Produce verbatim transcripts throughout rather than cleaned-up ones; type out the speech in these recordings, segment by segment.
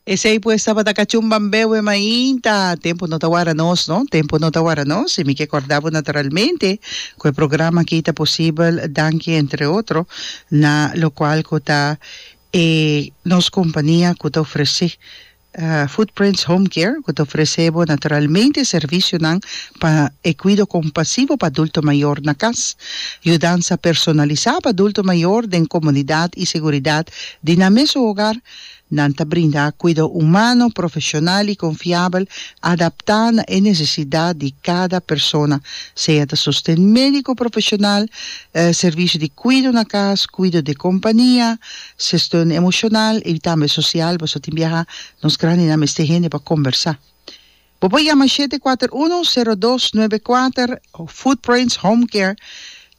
Esey pues tabata Cachumbambewe mainta. Tempo no ta warda nos, no? Tempo no ta warda nos. Y mi ke corda bo naturalmente cu e programa aki ta posibel danki entre otro na locual cu ta e nos compania cu ta ofrece Footprints Home Care cu ta ofrece bo naturalmente servicionan pa e cuido compasivo pa adulto mayor na cas, yudansa personalisa pa adulto mayor den comunidad y seguridad di nan mesun hogar. Nan ta brinda cuido humano, profesional y confiabel adapta na e necesidad di cada persona, sea ta sosten medico profesional, servicio di cuido na cas, cuido di compania, sosten emocional y tambe social, pasobra tin biaha nos grandinan mester hende pa combersa. Bo por yama shete kuater uno, sero dos nuebe kuater Footprints Home Care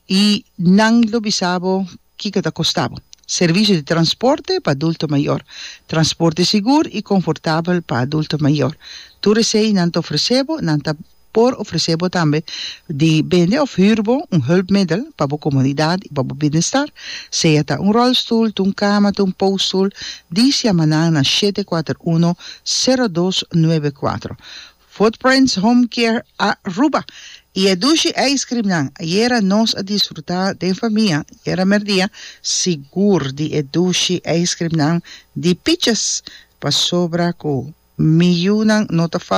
y nan lo bisa bo kiko ta kosta bo. Servicio di transporte pa adulto mayor. Transporte sigur y confortabel pa adulto mayor. Tur esey nan ta ofrece bo, nan ta por ofrece bo tambe di bende of huur bo un hulpmiddel pa bo comodidad y pa bo bienestar, sea ta un rolstoel, ta un cama, ta un postoel, dis yama nan na shete kuater uno, sero dos nuebe kuatro. Footprints Home Care Aruba y e dushi ijscreamnan. Ayera nos a disfruta den famia, ayera merdia, sigur di e dushi ijscreamnan di Peaches, pasobra cu mi yunan no ta falta.